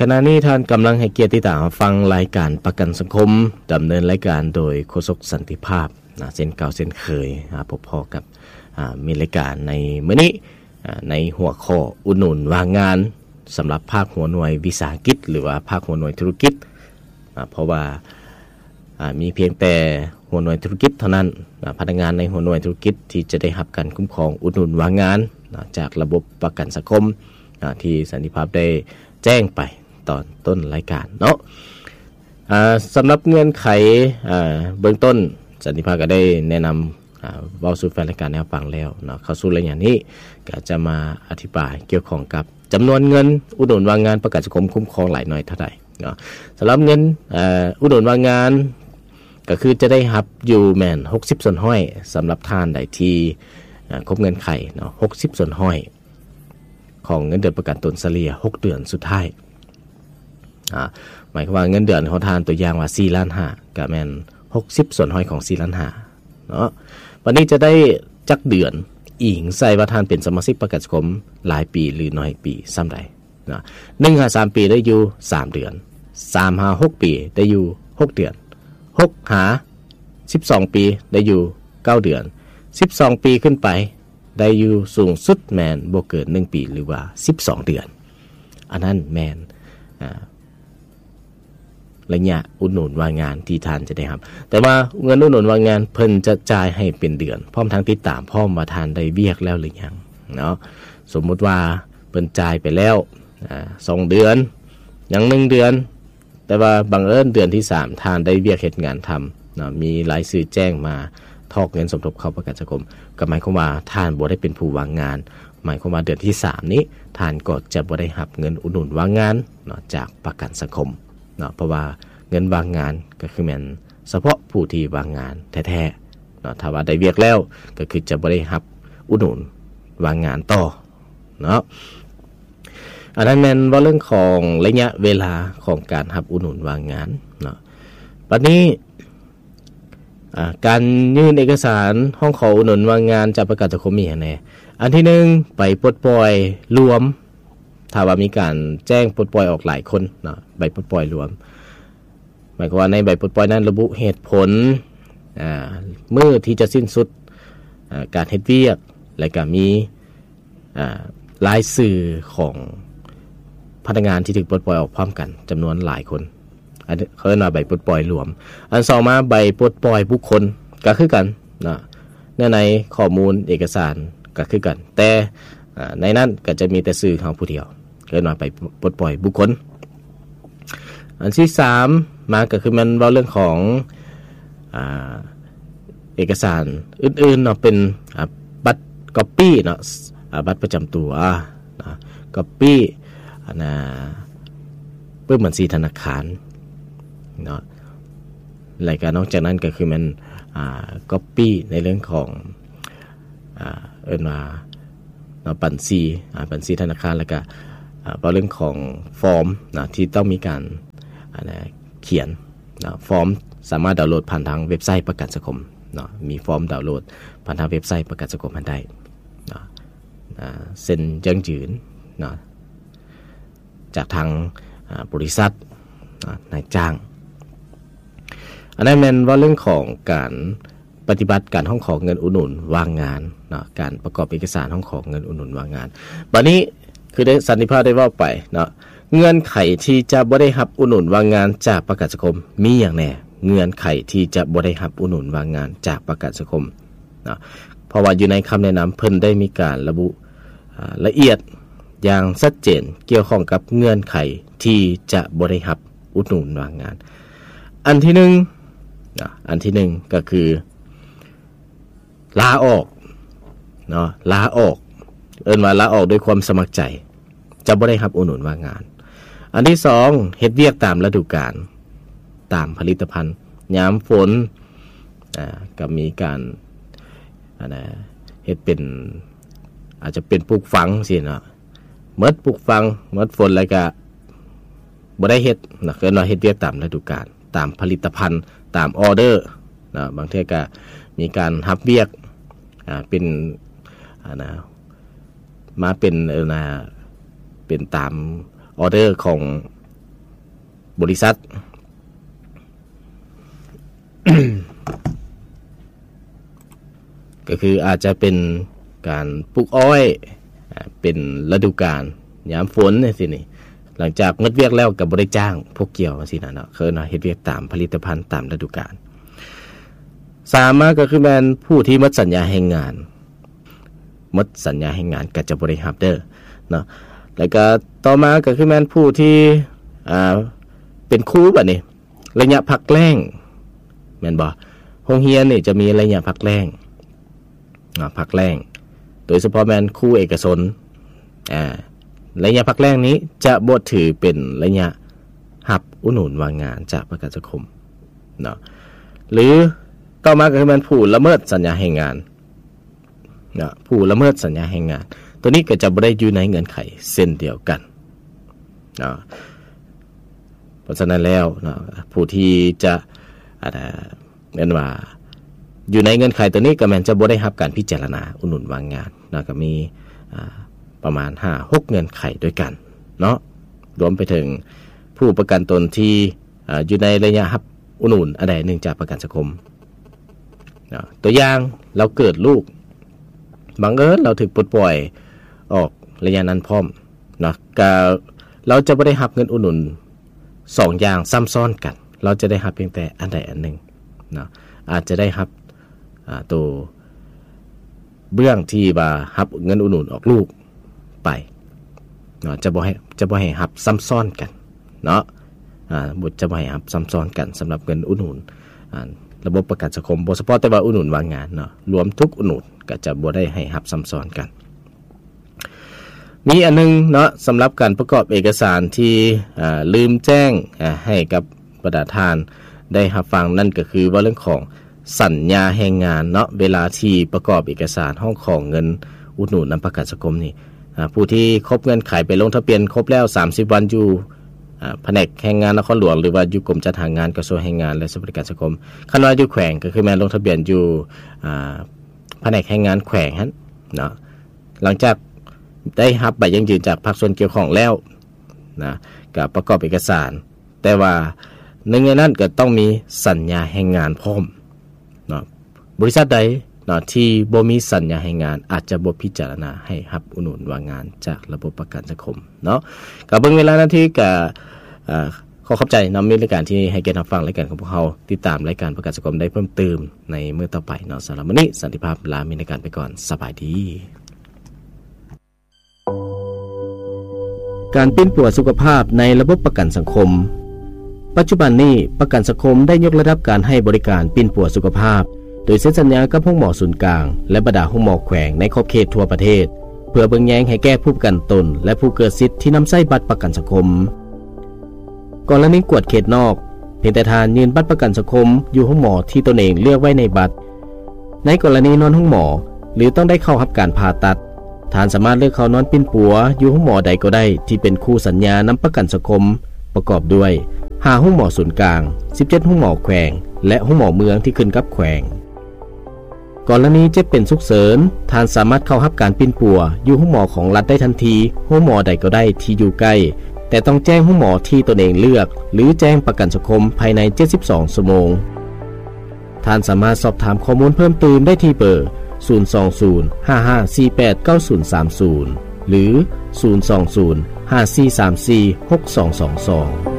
ຂະນະນີ້ທ່ານກຳລັງໃຫ້ກຽດຕິດຕາມຮັບຟັງລາຍການປະກັນສັງຄົມ, ດຳເນີນລາຍການໂດຍໂຄສົກສັນຕິພາບນະ, ເຊັ່ນເກົ່າເຊັ່ນເຄີຍ ອາ ພົບພໍ້ກັບ ອາ ມີລາຍການໃນມື້ນີ້ ອາ ໃນຫົວຂໍ້ອຸດໜູນວ່າງງານ ສຳລັບພາກຫົວໜ່ວຍວິສາຫະກິດ ຫຼືວ່າພາກຫົວໜ່ວຍທຸລະກິດ ອາ ເພາະວ່າ ອາ ມີພຽງແຕ່ຫົວໜ່ວຍທຸລະກິດເທົ່ານັ້ນ ອາ ພະນັກງານໃນຫົວໜ່ວຍທຸລະກິດທີ່ຈະໄດ້ຮັບການຄຸ້ມຄອງອຸດໜູນວ່າງງານ ອາ ຈາກລະບົບປະກັນສັງຄົມ ອາ ທີ່ສັນຕິພາບໄດ້ແຈ້ງໄປຕອນຕົ້ນລາຍການເນາະ. ອາ ສຳລັບເງື່ອນໄຂ ອາ ເບື້ອງຕົ້ນ ສັນຕິພາບກໍໄດ້ແນະນຳ ອາ ເວົ້າສູ່ແຟນລາຍການໄດ້ຮັບຟັງແລ້ວເນາະ. ເຂົ້າສູ່ໄລຍະນີ້ ກໍຈະມາອະທິບາຍກ່ຽວຂ້ອງກັບຈຳນວນເງິນອຸດໜູນວ່າງງານປະກັນສັງຄົມຄຸ້ມຄອງຫຼາຍໜ້ອຍເທົ່າໃດເນາະ. ສຳລັບເງິນ ອາ ອຸດໜູນວ່າງງານ ກໍຄືຈະໄດ້ຮັບຢູ່ແມ່ນຫົກສິບສ່ວນຮ້ອຍ ສຳລັບທ່ານໃດທີ່ ອາ ຄົບເງື່ອນໄຂເນາະ, ຫົກສິບສ່ວນຮ້ອຍຂອງເງິນເດືອນປະກັນຕົນສະເລ່ຍຫົກເດືອນສຸດທ້າຍ. ອາ ໝາຍຄວາມວ່າເງິນເດືອນຂອງທ່ານ ຕົວຢ່າງວ່າສີ່ລ້ານຫ້າ ກໍແມ່ນຫົກສິບສ່ວນຮ້ອຍຂອງສີ່ລ້ານຫ້າເນາະ. ບັດນີ້ຈະໄດ້ຈັກເດືອນ ອີງໃສ່ວ່າທ່ານເປັນສະມາຊິກປະກັນສັງຄົມຫຼາຍປີ ຫຼື ໜ້ອຍປີສ່ຳໃດເນາະ. ໜຶ່ງຫາສາມປີໄດ້ຢູ່ສາມເດືອນ, ສາມຫາຫົກປີໄດ້ຢູ່ຫົກເດືອນ, ຫົກຫາສິບສອງປີໄດ້ຢູ່ເກົ້າເດືອນ, ສິບສອງປີຂຶ້ນໄປ ໄດ້ຢູ່ສູງສຸດແມ່ນບໍ່ເກີນໜຶ່ງປີ ຫຼືວ່າສິບສອງເດືອນ. ອັນນັ້ນແມ່ນ ອາ ໄລຍະອຸດໜູນວ່າງງານທີ່ທ່ານຈະໄດ້ຮັບ. ແຕ່ວ່າເງິນອຸດໜູນວ່າງງານເພິ່ນຈະຈ່າຍໃຫ້ເປັນເດືອນ ພ້ອມທັງຕິດຕາມພ້ອມວ່າທ່ານໄດ້ວຽກແລ້ວຫຼືຍັງເນາະ. ສົມມຸດວ່າເພິ່ນຈ່າຍໄປແລ້ວ ອາ ສອງເດືອນ ຍັງໜຶ່ງເດືອນ ແຕ່ວ່າບັງເອີນເດືອນທີສາມທ່ານໄດ້ວຽກເຮັດງານທຳເນາະ, ມີລາຍຊື່ແຈ້ງມາຖອກເງິນສົມທົບເຂົ້າປະກັນສັງຄົມ, ກໍໝາຍຄວາມວ່າທ່ານບໍ່ໄດ້ເປັນຜູ້ວ່າງງານ, ໝາຍຄວາມວ່າເດືອນທີສາມນີ້ທ່ານກໍຈະບໍ່ໄດ້ຮັບເງິນອຸດໜູນວ່າງງານເນາະ ຈາກປະກັນສັງຄົມເນາະ, ເພາະວ່າເງິນວ່າງງານກໍຄືແມ່ນສະເພາະຜູ້ທີ່ວ່າງງານແທ້ໆເນາະ, ຖ້າວ່າໄດ້ວຽກແລ້ວກໍຄືຈະບໍ່ໄດ້ຮັບອຸດໜູນວ່າງງານຕໍ່ເນາະ. ອັນນັ້ນແມ່ນເວົ້າເລື່ອງຂອງໄລຍະເວລາຂອງການຮັບອຸດໜູນວ່າງງານເນາະ. ບັດນີ້ ອາ ການຍື່ນເອກະສານຮ້ອງຂໍອຸດໜູນວ່າງງານຈາກປະກັນສັງຄົມມີຫຍັງແດ່? ອັນທີໜຶ່ງ ໃບປົດປ່ອຍລວມ, ຖ້າວ່າມີການແຈ້ງປົດປ່ອຍອອກຫຼາຍຄົນເນາະ, ໃບປົດປ່ອຍລວມ ໝາຍຄວາມວ່າໃນໃບປົດປ່ອຍນັ້ນລະບຸເຫດຜົນ ອາ ມື້ທີ່ຈະສິ້ນສຸດ ອາ ການເຮັດວຽກ ແລະກະມີ ອາ ລາຍຊື່ຂອງພະນັກງານທີ່ຖືກປົດປ່ອຍອອກພ້ອມກັນຈຳນວນຫຼາຍຄົນ, ອັນນີ້ເຂົາເອີ້ນວ່າໃບປົດປ່ອຍລວມ. ອັນສອງມາ ໃບປົດປ່ອຍບຸກຄົນກໍຄືກັນເນາະ, ເນື້ອໃນຂໍ້ມູນເອກະສານກໍຄືກັນ, ແຕ່ ອາ ໃນນັ້ນກໍຈະມີແຕ່ຊື່ເຮົາຜູ້ດຽວ, ເອີ້ນວ່າໃບປົດປ່ອຍບຸກຄົນ. ອັນທີສາມມາກໍຄືແມ່ນເວົ້າເລື່ອງຂອງ ອາ ເອກະສານອື່ນໆເນາະ, ເປັນ ອາ ບັດກັອບປີ້ເນາະ, ອາ ບັດປະຈຳຕົວເນາະ, ກັອບປີ້ ອັນນ່າ ປຶ້ມບັນຊີທະນາຄານເນາະ, ແລະກະນອກຈາກນັ້ນກໍຄືແມ່ນ ອາ ກັອບປີ້ໃນເລື່ອງຂອງ ອາ ເອີ້ນວ່າເນາະ ບັນຊີ ອາ ບັນຊີທະນາຄານ, ແລະກະ ອາ ເວົ້າເລື່ອງຂອງຟອມເນາະ ທີ່ຕ້ອງມີການ ອັນນ່າ ຂຽນເນາະ, ຟອມສາມາດດາວໂຫຼດຜ່ານທາງເວັບໄຊປະກັນສັງຄົມເນາະ, ມີຟອມດາວໂຫຼດຜ່ານທາງເວັບໄຊປະກັນສັງຄົມຫັ້ນໄດ້ເນາະ, ອາ ເຊັນຢັ້ງຢືນເນາະ ຈາກທາງ ອາ ບໍລິສັດເນາະ ນາຍຈ້າງ. ອັນນັ້ນແມ່ນເວົ້າເລື່ອງຂອງການ ປະຕິບັດການຮ້ອງຂໍເງິນອຸດໜູນວ່າງງານເນາະ, ການປະກອບເອກະສານຮ້ອງຂໍເງິນອຸດໜູນວ່າງງານ. ບັດນີ້ຄືໄດ້ ສັນຕິພາບໄດ້ເວົ້າໄປເນາະ, ເງື່ອນໄຂທີ່ຈະບໍ່ໄດ້ຮັບອຸດໜູນວ່າງງານຈາກປະກັນສັງຄົມມີຫຍັງແດ່? ເງື່ອນໄຂທີ່ຈະບໍ່ໄດ້ຮັບອຸດໜູນວ່າງງານຈາກປະກັນສັງຄົມເນາະ, ເພາະວ່າຢູ່ໃນຄຳແນະນຳເພິ່ນໄດ້ມີການລະບຸ ອາ ລະອຽດຢ່າງຊັດເຈນກ່ຽວຂ້ອງກັບເງື່ອນໄຂທີ່ຈະບໍ່ໄດ້ຮັບອຸດໜູນວ່າງງານ. ອັນທີໜຶ່ງເນາະ, ອັນທີໜຶ່ງກໍຄື ລາອອກເນາະ, ລາອອກ ເອີ້ນວ່າລາອອກດ້ວຍຄວາມສະໝັກໃຈ, ຈະບໍ່ໄດ້ຮັບອຸດໜູນວ່າງງານ. ອັນທີສອງ ເຮັດວຽກຕາມລະດູການ, ຕາມຜະລິດຕະພັນ, ຍາມຝົນ ອາ ກໍມີການ ອັນນ່າ ເຮັດເປັນ ອາດຈະເປັນປູກຝັງຊີ້ເນາະ, ໝົດປູກຝັງ ໝົດຝົນແລ້ວກະບໍ່ໄດ້ເຮັດເນາະ, ເອີ້ນວ່າເຮັດວຽກຕາມລະດູການ ຕາມຜະລິດຕະພັນ ຕາມອໍເດີເນາະ, ບາງເທື່ອກະມີການຮັບວຽກ ອາ ເປັນ ອັນນ່າ ມາເປັນ ເອີ ນະ ເປັນຕາມອໍເດີຂອງ ບໍລິສັດ ກໍຄືອາດຈະເປັນການປູກອ້ອຍ ອາ ເປັນລະດູການຍາມຝົນຈັ່ງຊີ້ນີ້ ຫຼັງຈາກໝົດວຽກແລ້ວກໍບໍ່ໄດ້ຈ້າງພວກກ່ຽວຈັ່ງຊີ້ນະເນາະ ເອີ້ນວ່າເຮັດວຽກຕາມຜະລິດຕະພັນຕາມລະດູການ. ສາມມາກໍຄືແມ່ນຜູ້ທີ່ໝົດສັນຍາແຮງງານ ໝົດສັນຍາແຮງງານກໍຈະບໍ່ໄດ້ຮັບເດີເນາະ. ແລ້ວກໍຕໍ່ມາກໍຄືແມ່ນຜູ້ທີ່ ອາ ເປັນຄູບັດນີ້ ໄລຍະພັກແລ້ງ ແມ່ນບໍ່? ໂຮງຮຽນນີ້ຈະມີໄລຍະພັກແລ້ງ ອາ ພັກແລ້ງ ໂດຍສະເພາະແມ່ນຄູເອກະຊົນ ອາ ໄລຍະພັກແລ້ງນີ້ຈະບໍ່ຖືເປັນໄລຍະຮັບອຸດໜູນວ່າງງານຈາກປະກັນສັງຄົມເນາະ. ຫຼືຕໍ່ມາກໍຄືແມ່ນຜູ້ລະເມີດສັນຍາແຮງງານ ນະ ຜູ້ລະເມີດສັນຍາແຮງງານ ໂຕນີ້ກໍຈະບໍ່ໄດ້ຢູ່ໃນເງື່ອນໄຂເຊັ່ນດຽວກັນນະ. ເພາະສະນັ້ນແລ້ວນະ ຜູ້ທີ່ຈະ ອາ ເອີ້ນວ່າຢູ່ໃນເງື່ອນໄຂໂຕນີ້ ກໍແມ່ນຈະບໍ່ໄດ້ຮັບການພິຈາລະນາອຸດໜູນວ່າງງານນະ ກໍມີ ອາ ປະມານຫ້າຫົກເງື່ອນໄຂດ້ວຍກັນເນາະ ລວມໄປເຖິງຜູ້ປະກັນຕົນທີ່ ອາ ຢູ່ໃນໄລຍະຮັບອຸດໜູນອັນໃດໜຶ່ງຈາກປະກັນສັງຄົມເນາະ. ຕົວຢ່າງ ລາວເກີດລູກ ບັງເອີນລາວຖືກປົດປ່ອຍອອກໄລຍະນັ້ນພ້ອມເນາະ ກະລາວຈະບໍ່ໄດ້ຮັບເງິນອຸດໜູນສອງຢ່າງຊ້ຳຊ້ອນກັນ ລາວຈະໄດ້ຮັບພຽງແຕ່ອັນໃດອັນໜຶ່ງເນາະ ອາດຈະໄດ້ຮັບ ອາ ໂຕ ເບື້ອງທີ່ວ່າຮັບເງິນອຸດໜູນອອກລູກໄປເນາະ ຈະບໍ່ໃຫ້ ຈະບໍ່ໃຫ້ຮັບຊ້ຳຊ້ອນກັນເນາະ ອາ ບໍ່ ຈະບໍ່ໃຫ້ຮັບຊ້ຳຊ້ອນກັນສຳລັບເງິນອຸດໜູນ ອາ ລະບົບປະກັນສັງຄົມ ບໍ່ສະເພາະແຕ່ວ່າອຸດໜູນວ່າງງານເນາະ ລວມທຸກອຸດໜູນກໍຈະບໍ່ໄດ້ໃຫ້ຮັບຊ້ຳຊ້ອນກັນ. ມີອັນໜຶ່ງເນາະ ສຳລັບການປະກອບເອກະສານທີ່ ອາ ລືມແຈ້ງ ອາ ໃຫ້ກັບ ບັນດາທ່ານໄດ້ຮັບຟັງ ນັ້ນກໍຄືເວົ້າເລື່ອງຂອງສັນຍາແຮງງານເນາະ ເວລາທີ່ປະກອບເອກະສານຮ້ອງຂໍເງິນອຸດໜູນນຳປະກັນສັງຄົມນີ້ ອາ ຜູ້ທີ່ຄົບເງື່ອນໄຂໄປລົງທະບຽນຄົບແລ້ວສາມສິບວັນຢູ່ ອາ ພະແນກແຮງງານນະຄອນຫຼວງ ຫຼືວ່າຢູ່ກົມຈັດຫາງານ ກະຊວງແຮງງານ ແລະ ສະຫວັດດີການສັງຄົມ. ຄັນວ່າຢູ່ແຂວງກໍຄືແມ່ນລົງທະບຽນຢູ່ ອາ ພະແນກແຮງງານແຂວງຫັ້ນເນາະ ຫຼັງຈາກໄດ້ຮັບໃບຢັ້ງຢືນຈາກພາກສ່ວນກ່ຽວຂ້ອງແລ້ວນະ ກະປະກອບເອກະສານ ແຕ່ວ່າໜຶ່ງໃນນັ້ນກໍຕ້ອງມີສັນຍາແຮງງານພ້ອມເນາະ. ບໍລິສັດໃດເນາະທີ່ບໍ່ມີສັນຍາແຮງງານ ອາດຈະບໍ່ພິຈາລະນາໃຫ້ຮັບອຸດໜູນວ່າງງານຈາກລະບົບປະກັນສັງຄົມເນາະ. ກໍເບິ່ງເວລານາທີ ກໍ ເອີ ຂໍຂອບໃຈນຳມິດລາຍການທີ່ໃຫ້ກຽດຮັບຟັງລາຍການຂອງພວກເຮົາ. ຕິດຕາມລາຍການປະກັນສັງຄົມໄດ້ເພີ່ມຕື່ມໃນມື້ຕໍ່ໄປເນາະ. ສຳລັບມື້ນີ້ ສັນຕິພາບລາມິດລາຍການໄປກ່ອນ. ສະບາຍດີ. ການປິ່ນປົວສຸຂະພາບໃນລະບົບປະກັນສັງຄົມ. ປັດຈຸບັນນີ້ ປະກັນສັງຄົມໄດ້ຍົກລະດັບການໃຫ້ບໍລິການປິ່ນປົວສຸຂະພາບ ໂດຍເຊັນສັນຍາກັບໂຮງໝໍສູນກາງ ແລະ ບັນດາໂຮງໝໍແຂວງໃນຂອບເຂດທົ່ວປະເທດ ເພື່ອເບິ່ງແຍງໃຫ້ແກ່ຜູ້ປະກັນຕົນ ແລະ ຜູ້ເກີດສິດທີ່ນຳໃຊ້ບັດປະກັນສັງຄົມ. ກໍລະນີກວດເຂດນອກ, ພຽງແຕ່ທ່ານຍື່ນບັດປະກັນສັງຄົມຢູ່ໂຮງໝໍທີ່ຕົນເອງເລືອກໄວ້ໃນບັດ. ໃນກໍລະນີນອນໂຮງໝໍ ຫຼື ຕ້ອງໄດ້ເຂົ້າຮັບການຜ່າຕັດ, ທ່ານສາມາດເລືອກເຂົ້ານອນປິ່ນປົວຢູ່ໂຮງໝໍໃດກໍໄດ້ທີ່ເປັນຄູ່ສັນຍານຳປະກັນສັງຄົມ ປະກອບດ້ວຍ ຫ້າໂຮງໝໍສູນກາງ, ສິບເຈັດໂຮງໝໍແຂວງ ແລະ ໂຮງໝໍເມືອງທີ່ຂຶ້ນກັບແຂວງ. ກໍລະນີເຈັບເປັນສຸກເສີນ, ທ່ານສາມາດເຂົ້າຮັບການປິ່ນປົວຢູ່ໂຮງໝໍຂອງລັດໄດ້ທັນທີ, ໂຮງໝໍໃດກໍໄດ້ທີ່ຢູ່ໃກ້, ແຕ່ຕ້ອງແຈ້ງໂຮງໝໍທີ່ຕົນເອງເລືອກ ຫຼື ແຈ້ງປະກັນສັງຄົມພາຍໃນເຈັດສິບສອງຊົ່ວໂມງ. ທ່ານສາມາດສອບຖາມຂໍ້ມູນເພີ່ມຕື່ມໄດ້ທີ່ເບີ ສູນສອງສູນ ຫ້າຫ້າສີ່ແປດ ເກົ້າສູນສາມສູນ ຫຼື ສູນສອງສູນ ຫ້າສີ່ສາມສີ່ ຫົກສອງສອງສອງ.